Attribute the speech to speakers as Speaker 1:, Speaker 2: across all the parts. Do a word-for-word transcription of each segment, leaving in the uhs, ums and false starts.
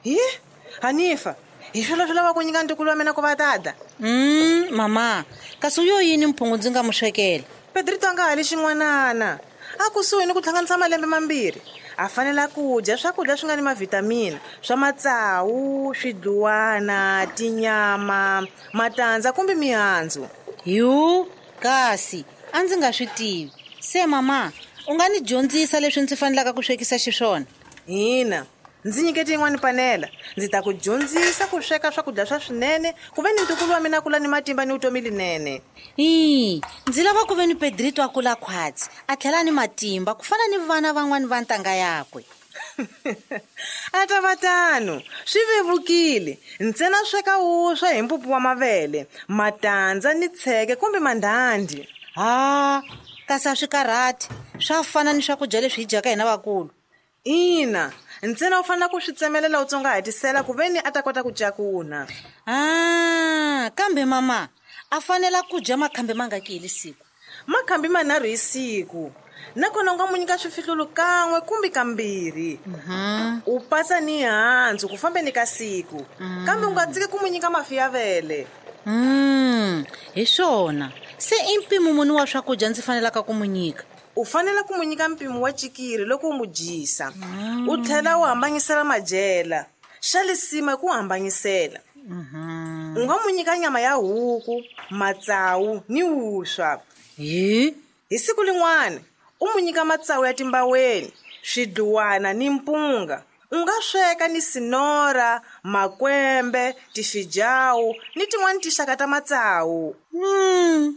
Speaker 1: Hi Hanifa, hi swilo swi lava ku nyika ntukulu wa mina ku va tata.
Speaker 2: Mm, mama, kasi yo yini mphungu ndzi nga mu swekela?
Speaker 1: Pedrito a nga hali xin'wanana. A kusuhi ni ku hlanganisa malembe mambirhi. A fanela ku dya swakudya swi nga ni mavhitamini, swa matsawu, swidluwana, tinyama, matandza kumbe mihandzu.
Speaker 2: Yu, kasi a ndzi nga swi tivi. Se mama, u nga ni dyondzisa leswi ndzi fanelaka ku swekisa xiswona?
Speaker 1: Hina, ndzi nyikete yin'wana panela. Ndzi ta ku dyondzisa ku sweka swakudya swa swinene, ku ve ni ntukulu wa mina kula ni matimba ni vutomi linene.
Speaker 2: Ii, ndzi lava ku ve ni Pedrito a kula khwatsi, a tlhela ni matimba ku fana ni vana van'wani va ntanga yakwe.
Speaker 1: A ta va tano, swi vevukile. Ntsena sweka wuswa hi mpupu wa mavele, matandza ni tsheke kumbe mandhandhi.
Speaker 2: Ha, kasi a swi karhati, swa fana ni swakudya leswi hi dyaka hina vakulu.
Speaker 1: Ina, ntsena u fanele ku swi tsemelela u tsongahatisela ku ve ni a ta kota ku cakuna.
Speaker 2: Ah, kambe mama, a fanela ku dya makhambi mangaki hi siku?
Speaker 1: Makhambi manharhu hi siku. Nakona u nga mu nyika swifihlulu kan'we kumbe kambirhi.
Speaker 2: Mm-hmm.
Speaker 1: U pasa ni handzu ku fambeni ka siku.
Speaker 2: Mm.
Speaker 1: Kambe u nga tshiki ku mu nyika mafi ya vele.
Speaker 2: Mm, hi swona. Se i mpimo muni wa swakudya ndzi fanelaka ku mu nyika?
Speaker 1: U fanele ku mu nyika mpimo wa cikiri loko u mu dyisa.
Speaker 2: Mm.
Speaker 1: U tlhela u hambanyisela madyela. Xa lisima i ku hambanyisela.
Speaker 2: Mm-hmm.
Speaker 1: U nga mu nyika nyama ya huku, matsawu ni wuswa.
Speaker 2: Hi?
Speaker 1: Hi siku lin'wana u mu nyika matsawu ya timbaweni, swidluwana ni mpunga. U nga sweka ni sinora, makwembe, tifijawu ni tin'wani tinxaka ta matsawu.
Speaker 2: Mm.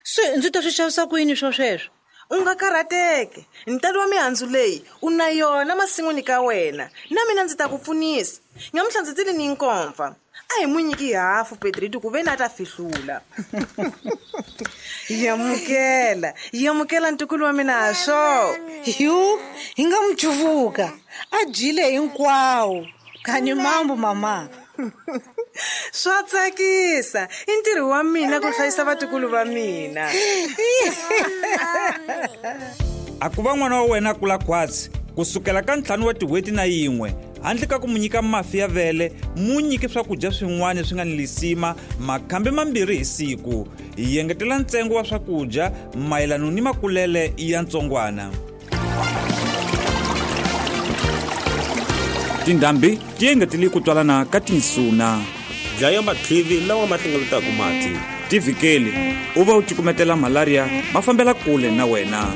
Speaker 2: Se ndzi ta swi xavisa ku yini swo sweswo?
Speaker 1: U nga karhateki. Ntalo wa mihandzu leyi u na yona masin'wini ka wena. Na mina ndzi ta ku pfunisa. Nyamuntlha ndzi tile ni nkomfa. A hi mu nyiki hafu Pedrito ku ve ni a ta fihlula. Yamukela, yamukela ntukulu wa mina ha swo.
Speaker 2: Yu, hi nga mu cuvuka. A dyile hinkwawo. Kani mambo mama.
Speaker 1: Swa tsakisa. I ntirho wa mina ku hlayisa vatukulu va mina.
Speaker 3: A ku va n'wana wa wena a kula khwatsi kusukela ka ntlhanu wa tin'hweti na yin'we, handle ka ku mu nyika mafi ya vele, mu nyike swakudya swin'wana swi nga ni lisima makhambi mambirhi hi siku. Hi engetela ntsengo wa swakudya mayelana ni makulele ya ntsongwana. Tindhambi ti engetele ku twalana ka tinsuna.
Speaker 4: Dlaya matlivi lawa ma hlengeletaka mati.
Speaker 3: Tivhikeli, u va u cukumetela malaria ma fambela kule na wena.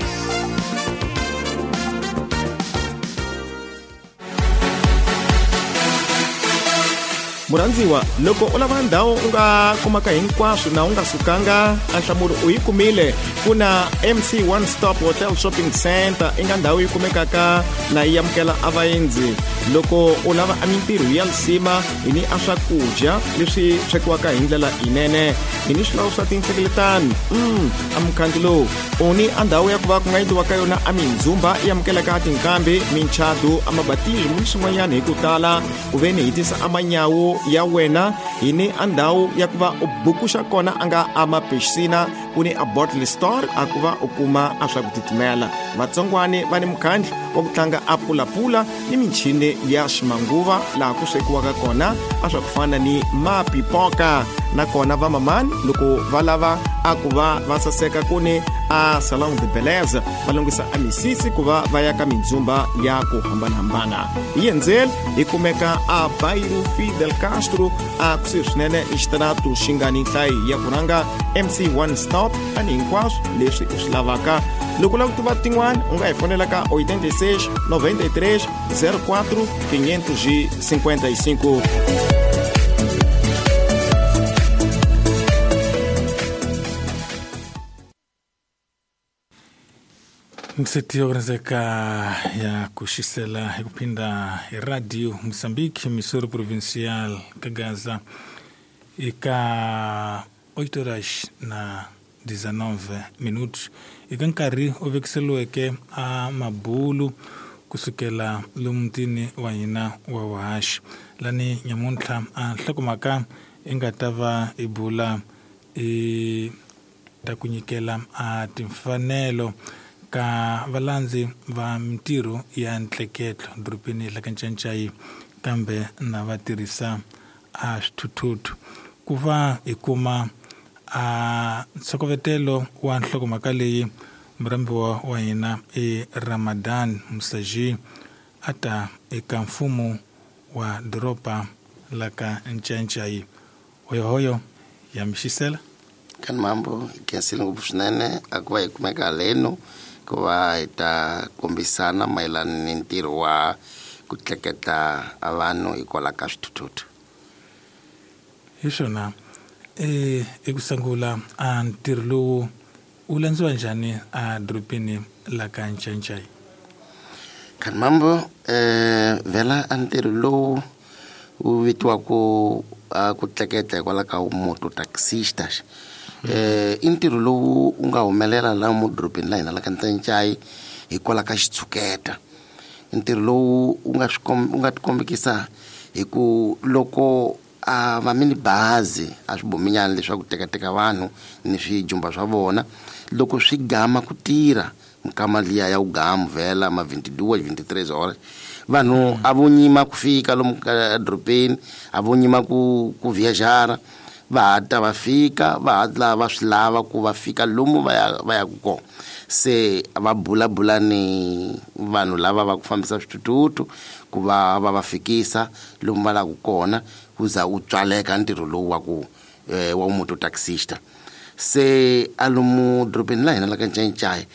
Speaker 5: Murhandziwa, loko u lava ndhawu u nga kumaka hinkwaswo na u nga sukanga, a nhlamulo u yi kumile. Ku na M C One Stop Hotel Shopping Center, i nga ndhawu yi kumekaka na yi amukela a vaendzi. Loko u lava a mintirho ya lisima, hi ni a swakudya leswi swekiwaka hi ndlela yinene, hi ni swilawu swa tinhlengeletano. Mm, a mukhandlu lowu u ni a ndhawu ya ku va ku nga endliwa ka yona a mindzumba yi amukelaka tinkambi, minchadu, a mabatismo ni swin'wanyana hi ku tala. Ku ve ni hi tisa a manyawu ya wena, hi ni a ndhawu ya ku va u bukuxa kona a nga a mapixina, ku ni a bottle store a ku va u kuma a swa ku titimela. Vatsongwani va ni mukhandlu wa ku tlanga a pulapula ni michini ya ximanguva laha ku swekiwaka kona a swa ku fana ni mapipoka. Nakona va mamani loko va lava a ku va va saseka ku ni a salon de beleza, va lunghisa a misisi ku va va ya ka mindzumba ya ku hambanahambana. Hi endzeli hi kumeka a Bairro Fidel Castro a kusuhi swinene ni xitaratu xi nga ni nhlayo ya ku rhanga M C One Stop, tani hinkwaswo leswi u swi lavaka. Loko u lava ku tiva tin'wana, u nga hi fonela ka oitenta e seis, noventa e três, zero quatro, quinhentos e cinquenta e cinco.
Speaker 6: Mseti yokurinzeka ya kuxisela hi ku phinda hi radio Mozambique, Missouri Provincial ka Gaza, eka oito horas na dezenove minutos, eka nkarhi u vekiseliweke a mabulu kusukela lomutini wa hina wa vuhaxi. Lani nyamuntlha a nhlokomhaka i nga ta va i bula i ta ku nyikela a timfanelo ka valandzi va mintirho ya ntleketlo dorobeni la ka Ncancai kambe na va tirhisa a swithuthuthu ku va hi kuma a ntshokovetelo wa nhlokomhaka leyi murhambiwa wa hina i Ramadan Musaji a ta eka mfumo wa doroba la ka Ncancai. Hoyohoyo ya mixisela
Speaker 7: kan mambo khensile ngopfu swinene a ku va hi kumeka haleno ku va hi ta kombisana mayelana ni ntirho wa ku tleketla a vanhu hikwalaho ka swithuthuthu.
Speaker 6: Hi swona e eku sungula a ntirho lowu wu landziwa njhani a dorobeni la ka Ncancai?
Speaker 7: Kan mambo eh vela a ntirho lowu wu vitiwaku a ku tleketla hikwalaho ka moto taxistas eh i ntirho lowu wu nga humelela laha mudorobeni la hina la ka Ncancai hikwalaho ka xitshuketa. Ntirho lowu wu nga swi wu nga tikombekisa hi ku loko a va mini bazi a swibominyana leswaku tekateka vanhu ni swijumba swa vona loko swi gama ku tirha mikama liya ya ugamu vhela ma vinte e duas vinte e três horas vanhu a vo nyima ku fika lomu edorobeni a vo nyima ku ku viajara va hatla va fika va hatla va swi lava ku va fika lomu va ya va yaku kona. Se va bulabula ni vanhu lava va ku fambisa swithuthuthu ku va va va fikisa lomu va laku kona ku za wu tswaleka ntirho lowu wa ku eh, wa moto taxista. Se a lomu dorobeni la hina la ka Ncancai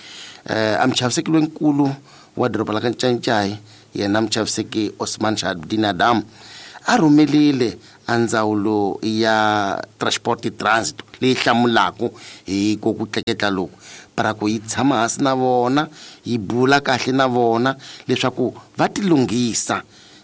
Speaker 7: eh, a muchaviseki lonkulu wa doroba la ka Ncancai yena muchaviseki Osman Shadin Adam a rhumelile a ndzawulo ya transport transit leyi hlamulaku hi ku ku tleketla loku para ku yi tshama hansi na vona yi bula kahle na vona leswaku va tilunghisa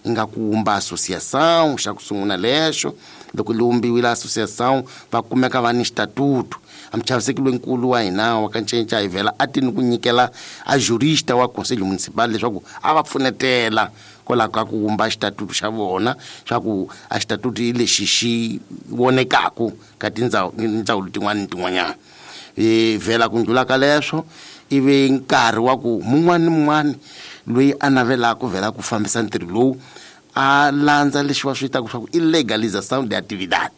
Speaker 7: nga ku wumba associação xa ku sungula lexo loko li wumbiwile associação va kumeka va ni xitatutu. A muchaviseki lonkulu wa hina wa ka Ncancai vhela a ti ni ku nyikela a jurista wa conselho municipal leswaku a va pfunetela kwalaho ka ku wumba xitatutu xa vona swa ku a xitatutu hi lexi xi vonekaku ka tindzawulo tin'wana ni tin'wanyana. E vhela ku ndlula ka leswo ivi nkarhi wa ku mun'wana ni mun'wana loyi a navelaka vhela ku fambisa ntirho lowu a landza lexi va swi vitaka swa ku i legalização de atividade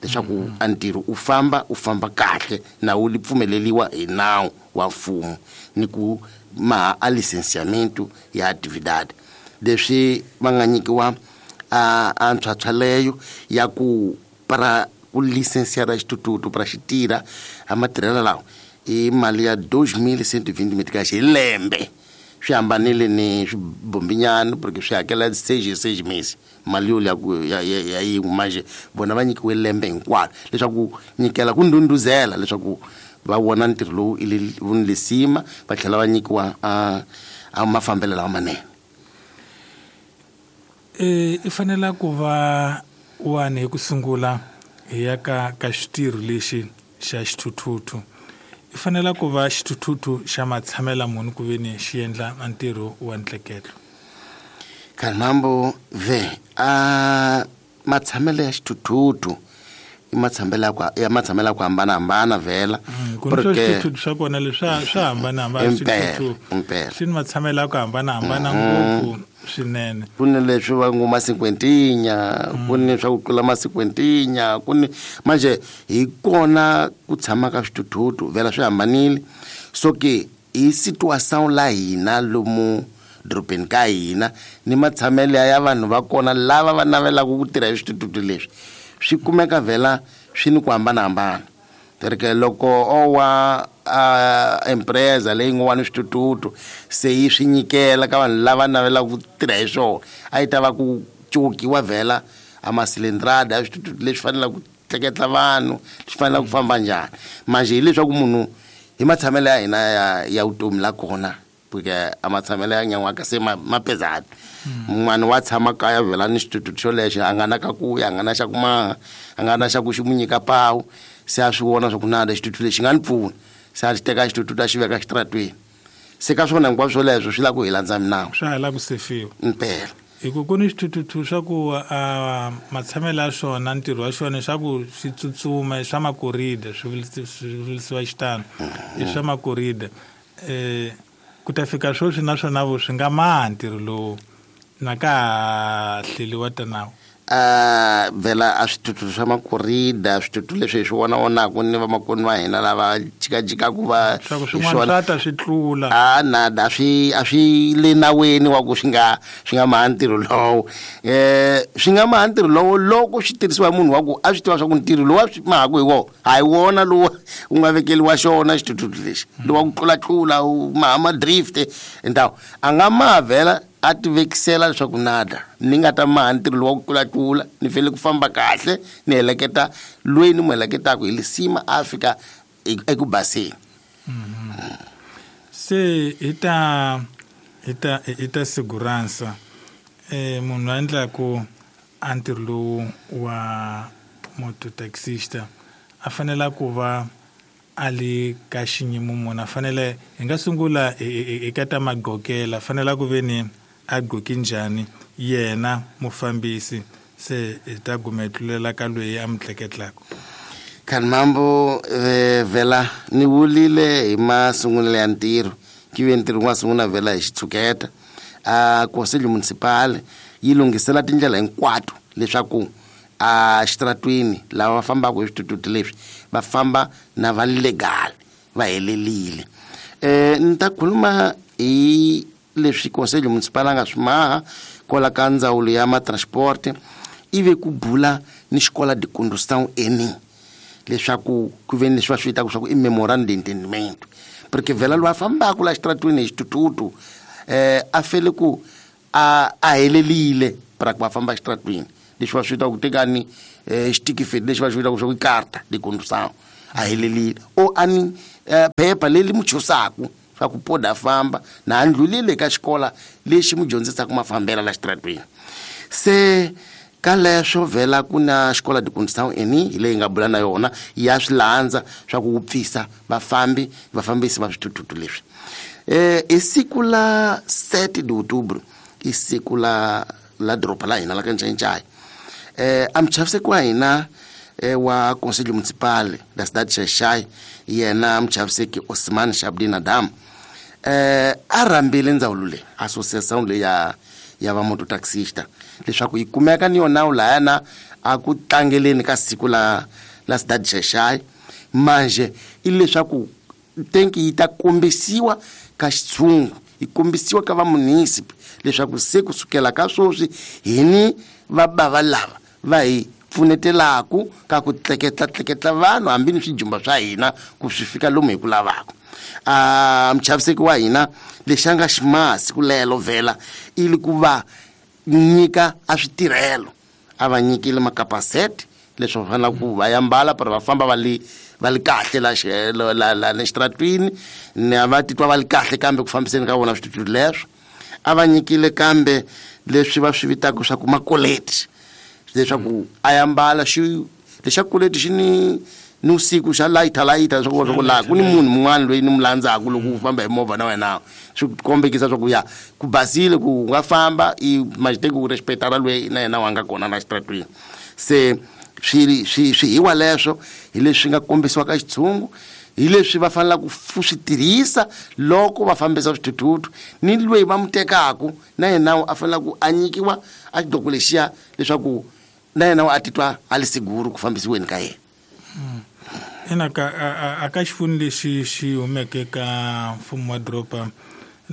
Speaker 7: leswaku a ntirho u famba u famba kahle na wu li pfumeleliwa hi nawu wa mfumo ni ku maha a licenciamento ya atividade leswi va nga nyikiwa a a ntswatshwa leyo ya ku para ku licenciara xithuthuthu para xi tirha a matirhelo lawa i mali ya dois mil cento e vinte meticais hi lembe. Swi hambanile ni swibombinyana porque swi hakela seis hi seis meses mali yo ya ku ya ya yin'we manje vona va nyikiwe lembe hinkwaro leswaku nyikela ku ndhundhuzela leswaku va vona ntirho lowu i wu ni lisima va tlhela va nyikiwa a a mafambelo lawa manene.
Speaker 6: E i fanela ku va wani hi ku sungula hi ya ka ka xitirho lexi xa xithuthuthu i fanela ku va xithuthuthu xa matshamela munhu ku ve ni xi endla ntirho wa ntleketlo.
Speaker 7: Kanambo ve a matshamelo ya xithuthuthu i matshamelo ya ku ya matshamelo ya ku hambanahambana vhela
Speaker 6: ku ni swa swithuthuthu swa kona leswi swa swa hambanahambana swithuthuthu
Speaker 7: impela
Speaker 6: swi ni matshamelo ya ku hambanahambana ngopfu swinene.
Speaker 7: Ku ni leswi va ngo masinkwentinya ku ni swa ku tlula masinkwentinya ku ni manje hi kona ku tshama ka swithuthuthu vhela swi hambanile. So ke hi situação la hina lomu dorobeni ka hina ni matshamelo ya vanhu va kona lava va navelaka ku tirha hi swithuthuthu leswi swi kumeka vhela swi ni ku hambanahambana. Porque loko o wa a empresa leyi ngo wa ni swithuthuthu se yi swi nyikela ka vanhu lava navelaka ku tirha hi swona a yi ta va ku cukiwa vhela a masilindrada ya swithuthuthu leswi fanelaka ku tleketla vanhu leswi fanelaka ku famba njhani manje hileswaku munhu hi matshamelo ya hina ya ya vutomi la kona porque a matshamelo ya nyan'waka se ma ma pesado mun'wana wa tshama kaya vhela ni xithuthuthu xolexo a nga na ka ku ya a nga na xa ku maha a nga na xa ku xi mu nyika pawu se a swi vona swa ku na xithuthuthu lexi nga ni pfuna se a xi teka xithuthuthu a xi veka xitaratweni se ka swona hinkwaswo swoleswo swi lava ku hi landza minawu
Speaker 6: swa ha lava ku sefiwa
Speaker 7: impela.
Speaker 6: Hi ku ku ni xithuthuthu swa ku a matshamelo ya swona ntirho wa xona swa ku swi tsutsuma i swa makorida swi vulisi- swi vulisiwa xitano i swa makorida eh Ku ta fika sweswi naswona vo swi nga maha ntirho lowu na ka ha hleliwa ta nawu.
Speaker 7: A vhela a swithuthuthu swa makorida swithuthuthu leswi hi swi vona vonaku ni vamakwenu va hina lava jikajikaku va
Speaker 6: swa ku swin'wana swa ta swi tlula
Speaker 7: a nada a swi a swi le nawini wa ku swi nga swi nga maha ntirho lowo um swi nga maha ntirho lowo loko swi tirhisiwa hi munhu wa ku a swi tiva swa ku ntirho lowu a swi mahaku hi wona a hi wona lowu wu nga vekeliwa xona xithuthuthu lexi lowa ku tlulatlula wu maha ma-drift ndhawu a nga maha vhela a ti vekisela leswaku nada ni nga ta maha ntirho lowu wa ku tlulatlula ni fanele ku famba kahle ni heleketa loyi ni n'wi heleketaka hi lisima a fika eku baseni.
Speaker 6: Se hi ta hi ta hi ta segurança eh munhu a endlaku a ntirho lowu wa mototaxista a fanele ku va a le ka xiyimo munhu a fanele hi nga sungula eka ta magqokela fanele ku ve ni a gqoke njhani yena mufambisi se hi ta guma hi tlulela ka loyi a mi tleketlaka.
Speaker 7: Khanmambo vhela ni vulile hi masungulelo ya ntirho ki ve ntirho wa sungula vhela hi xitshuketa a conselho municipal yi lunghisela tindlela hinkwato leswaku a xitaratwini lava va fambaka hi swithuthuthu leswi va famba na va legal va helelile. Eh ni ta khuluma hi leswi conselho municipal a nga swi maha kwala ka ndzawulo ya matransport ivi ku bula ni xikola de condução eni leswaku ku ve ni leswi va swi vitaka swa ku i memorandum de entendimento porque vhela loyi a fambaka la xitaratwini hi xithuthuthu eh a fele ku a a helelile para ku va famba xitaratwini leswi va swi vitaka ku tekani xitikifeti lexi va swi vitaka swa ku i carta de condução a helelile o ani phepha leri mu chusaku swa ku poda a famba na a ndlulile ka xikola lexi mu dyondzisaka mafambelo la xitaratwini. Se ka leswo vhela ku na xikola de condução eni hi leyi nga bula na yona ya swi landza swa ku pfisa vafambi vafambisi va swithuthuthu leswi. Eh i siku la sete de outubro i siku la la doroba la hina la ka Ncayincaya eh a muchaviseki wa hina wa conselho municipal da cidade de Xai-Xai yena muchaviseki Osman Shabdin Adam eh a rhambile ndzawulo leyi associação leyi ya ya va mototaxista leswaku yi kumeka ni yona lahayana a ku tlangeleni ka siku la la cidade de Xai-Xai manje i leswaku tenki yi ta kombisiwa ka xitshungu yi kombisiwa ka va munisipi leswaku se kusukela ka sweswi hi ni va bava lava va hi pfunetelaku ka ku tleketla tleketla vanhu hambi ni swijumba swa hina ku swi fika lomu hi ku lavaka. A muchaviseki wa hina lexi a nga ximaha siku lelo vhela i li ku va nyika a switirhelo a va nyikile makapasete leswi va fanelaka ku va yambala para va famba va li va li kahle la la la la xitaratwini ni a va titwa va li kahle kambe ku fambiseni ka vona swithuthuthu leswo. A va nyikile kambe leswi va swi vitaka swa ku makoleti leswaku a yambala xi lexa koleti xi ni ni usiku xa layita layita leswaku swa ku laha ku ni munhu mun'wana loyi ni mu landzaku loko u famba hi movha na wena swi kombekisa swa ku ya ku basile ku u nga famba i majiteki ku respectana loyi na yena wa nga kona la xitaratwini. Se swi swi swihiwa leswo hi leswi nga kombisiwa ka xitshungu hi leswi va fanelaka ku swi tirhisa loko va fambisa swithuthuthu ni loyi va mu tekaku na yena a fanelaka ku a nyikiwa a xidoko lexiya leswaku na yena a titwa a li seguro ku fambisiweni ka yena.
Speaker 6: Ina ka a ka xifuni lexi xi humeke ka mfumo wa doroba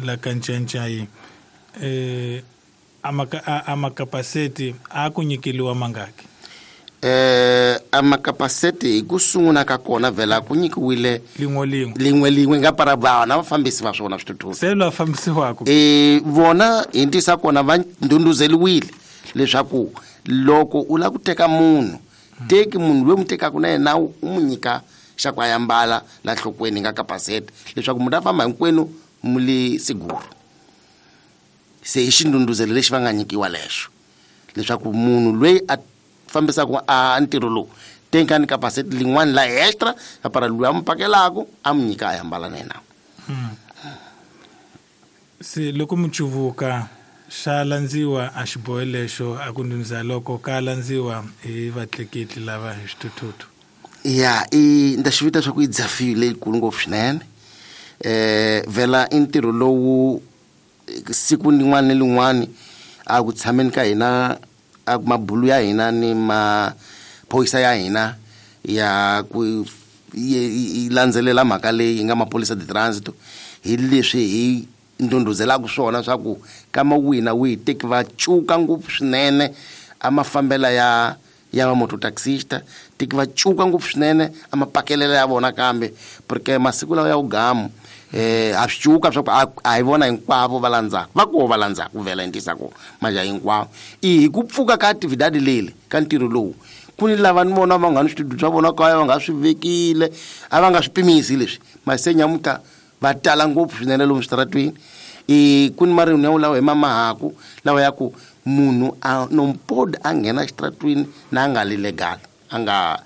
Speaker 6: la ka Ncayincaya eh a makapaseti a ku nyikeliwa mangaki?
Speaker 7: Eh a makapaseti hi ku sungula ka kona vhela ku nyikiwile
Speaker 6: lin'we lin'we
Speaker 7: lin'we lin'we nga para vana vafambisi va swona swithuthuthu
Speaker 6: se lwa fambisiwaka
Speaker 7: eh vona hi ntisa kona va ndhundhuzeliwile leswaku loko u lava ku teka munhu teki munhu loyi mu tekaka na yena u mu nyika xa ku a yambala la nhlokweni nga kapasete leswaku munhu a famba hinkwenu mu le seguro. Se i xindhundhuzelo lexi va nga nyikiwa lexo leswaku munhu loyi a fambisaka a ntirho lowu tenkani kapasete lin'wana la extra para loyi a mu pakelaku a mu nyika a yambala na yena.
Speaker 6: Se loko mu cuvuka xa landziwa a xiboho lexo a ku ndhundhuzela loko ka landziwa hi vatleketli lava hi swithuthuthu.
Speaker 7: Ya i nda xi vita swa ku i dzafile leyikulu ngopfu swinene. Eh vela i ntirho lowu siku rin'wana ni rin'wana a ku tshameni ka hina a mabulu ya hina ni maphorisa ya hina ya ku yi landzelela mhaka leyi yi nga maphorisa de transit hi leswi hi ndhundhuzelaka swona swa ku kama wina wihi teki va cuka ngopfu swinene a mafambela ya ya va mototaxista teki va cuka ngopfu swinene a mapakelela ya vona kambe porque masiku lawa ya vugamu eh a swi cuka swa ku a hi vona hinkwavo va landzaka va koho va landzaka vhela ndisa ko maja hinkwavo i hi ku pfuka ka actividade leli ka ntirho lowu ku ni lava ni vona va nga ni switudu swa vona kaya va nga swi vekile a va nga swi pimisi leswi masenyamuta va tala ngopfu swinene lomu switaratweni i ku ni marino lawa hi mamahaku lawa ya ku munhu a nompod a nghena xitaratweni na a nga li legal a nga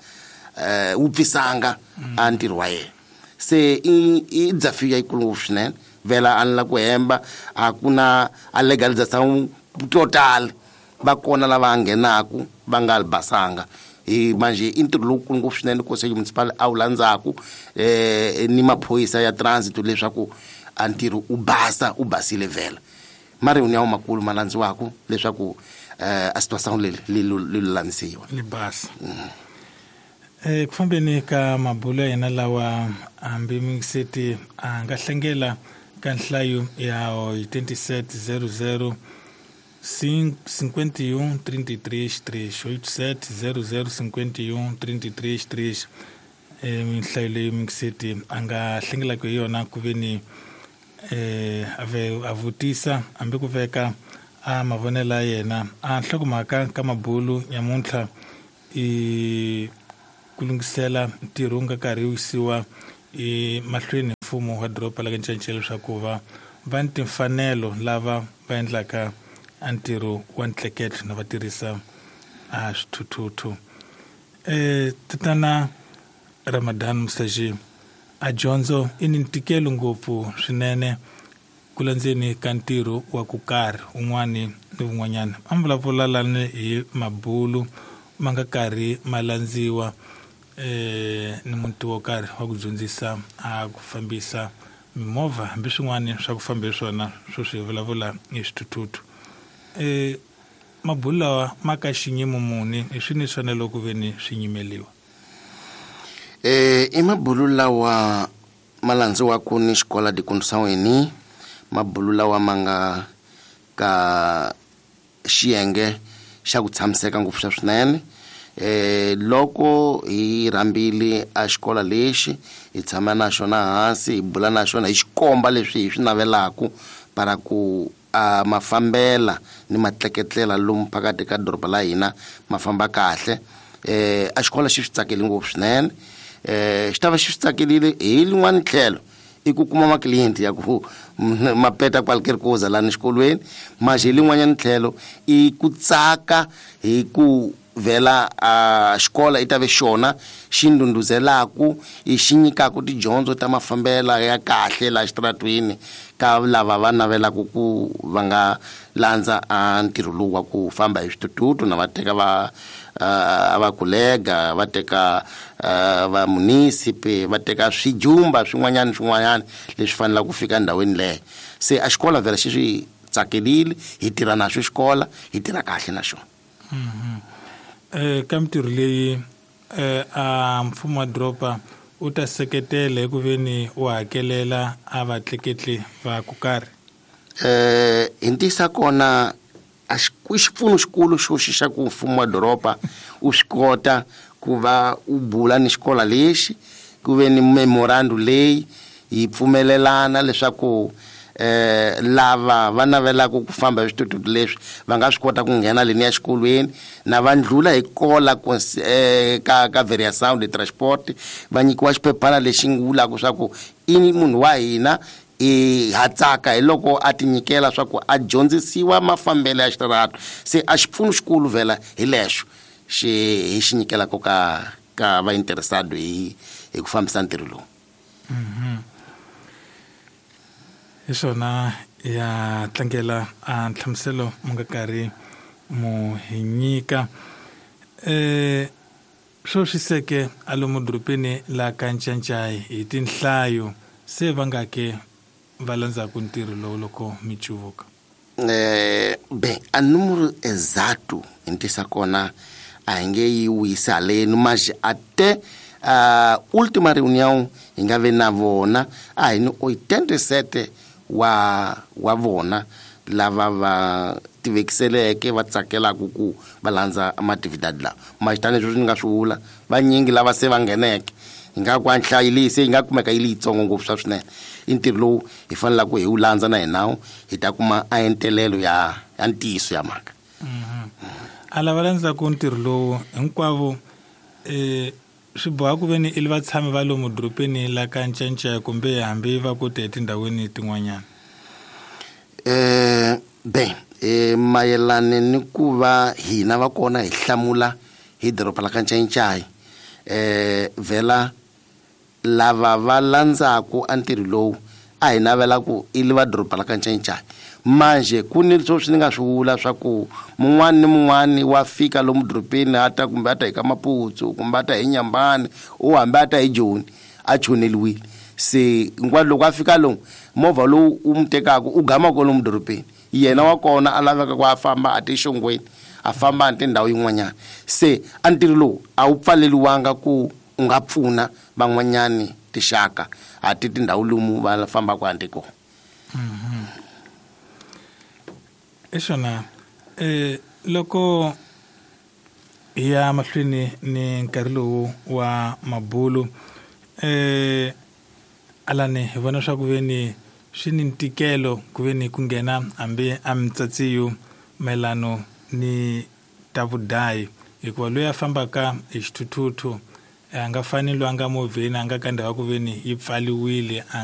Speaker 7: eh wupfisanga a ntirho wa yena se i i desafio yikulu ngopfu swinene vhela a ni la ku hemba a ku na a legalization total va kona lava nghenaku va nga li basanga hi manje i ntirho lowukulu ngopfu swinene conselho municipal a wu landzaku eh ni maphorisa ya transit leswaku a ntirho u basa u basile vhela mari ya makulu ma landziwaku leswaku eh a situação leyi li lulamisiwa
Speaker 6: li basa. Eh ku fambeni ka mabulo ya hina lawa hambi mingiseti a nga hlengela ka nhlayo ya eighty-seven zero zero cinquenta e um trinta e três três oito sete zero zero cinquenta e um trinta e três três. Eh nhlayo leyi mingiseti a nga hlengelaka hi yona ku veni eh ave a vutisa hambi ku veka a mavonelo ya yena a nhlokomhaka ka mabulu nyamuntlha i ku lunghisela ntirho wu nga karhi wu yisiwa emahlweni mfumo wa doroba la ka Ncancela leswaku va va ni timfanelo lava va endlaka a ntirho wa ntleketlo na va tirhisa a swithuthuthu. Eh tatana Ramadan Musaji, a dyondzo i ni ntikelo ngopfu swinene ku landzeni ka ntirho wa ku karhi un'wani ni wun'wanyana. A mi vulavula lani hi mabulu ma nga karhi ma landziwa eh ni muti wo karhi wa ku dyondzisa a ku fambisa mimovha hambi swin'wana swa ku famba hi swona swo swi vulavula hi swithuthuthu. Eh mabulu lawa ma ka xinyimo muni hi swini swona loko ve ni swi nyimeliwa?
Speaker 7: Eh i mabulu lawa ma landziwaku ni xikola de condução eni mabulu lawa ma nga ka xiyenge xa ku tshamiseka ngopfu xa swinene. Eh loko hi rhambile a xikola lexi hi tshama na xona hansi hi bula na xona hi xikomba leswi hi swi navelaku para ku a mafambela ni matleketlela lomu phakathi ka doroba la hina ma famba kahle. Eh a xikola xi swi tsakeli ngopfu swinene. Eh xi ta va xi swi tsakelile hi lin'wana tlhelo i ku kuma maklienti ya ku ma peta qualquer coisa lani xikolweni mas hi lin'wanyana tlhelo i ku tsaka hi ku vhela a xikola i ta ve xona xi ndhundhuzelaku i xi nyikaku tidyondzo ta mafambela ya kahle laha xitaratweni ka lava va navelaka ku va nga landza a ntirho lowu wa ku famba hi switututu na va teka va a va kolega va teka va munisipe va teka swijumba swin'wanyana swin'wanyana leswi fanelaka ku fika endhawini leyo. Se a xikola vhela xi swi tsakelile hi tirha na xo xikola hi tirha kahle na xona.
Speaker 6: Eh ka mintirho leyi eh a mfumo wa doroba u ta seketela hi ku veni u hakelela a vatleketli va ku karhi?
Speaker 7: Eh hi ntisa kona a xipfuno xikulu xo xi xa ku mfumo wa doroba u swi kota ku va u bula ni xikola lexi ku ve ni memorandum leyi yi pfumelelana leswaku eh lava va navelaka ku famba hi switututu leswi va nga swi kota ku nghena leni ya xikolweni na va ndlula hi kola eh, ka ka variação de transport va nyikiwa xiphephana lexi nga vulaka swa ku i munhu wa hina i hatsaka hi loko a ti nyikela swa ku a dyondzisiwa mafambelo ya xitarato. Se a xipfuno xikulu vhela hi lexo xi hi xi nyikelaka ka ka va interessado hi hi ku fambisa ntirho lowu.
Speaker 6: Mhm. Hi swona ya tlangela a nhlamuselo mu nga karhi mu hi nyika. Eh swo swiseke a lomu dorobeni la ka Ncancai hi tinhlayo Se va nga ke va landzaku ntirho lowu loko mi cuvuka?
Speaker 7: Eh, bem, a número exato ntisa kona a hi nge yi wisi haleni, mas até a última reunião hi nga ve na vona a hi ni oitenta e sete wa wa vona lava va tivekiseleke va tsakelaka ku va landza matividadi lawa. Mas tanihi leswi ni nga swi vula, vanyingi lava se va ngheneke hi nga ku a nhlayo leyi se yi nga kumeka yi li yitsongo ngopfu swa swinene. I ntirho lowu hi fanelaka hi wu landza na hina hi ta kuma a entelelo ya ya ntiyiso ya mhaka.
Speaker 6: A lava landzaku ntirho lowu hinkwavo eh swi boha ku ve ni i vatshami va lomu dorobeni la ka Ncancaya kumbe hambi va ku te etindhawini tin'wanyana?
Speaker 7: Eh, bem, eh, mayelana ni ku va hina va kona hi hlamula hi doroba la ka Ncancaya, eh, vhela lava va landzaku a ntirho lowu a hi navela ku i va doroba la ka Ncancaya. Manje ku ni leswi ni nga swi vula swa ku mun'wani ni mun'wani wa fika lomu dorobeni a ta kumbe a ta hi ka Maputsu kumbe a ta hi Nyambani u hambi a ta hi Joni a choneliwile. Se hinkwaro loko a fika lomu movha lowu u mu tekaka u gama kwalomu dorobeni, yena wa kona a laveka ku a famba a tixongweni a famba a tindhawu yin'wanyana. Se a ntirho lowu a wu pfaleliwanga ku u nga pfuna van'wanyani tixaka a ti tindhawu lomu va fambaka handle kona.
Speaker 6: Exona eh loko hi ya mahlweni ni nkarhi lowu wa mabulu eh alani hi vona swa ku ve ni swi ni ntikelo ku ve ni ku nghena hambi a mtsatsiyu mayelano ni ta vudayi, hikuva loyi a fambaka hi xithuthuthu a nga fani loyi a nga movheni a nga ka ndhawu ya ku ve ni yi pfaliwile a nga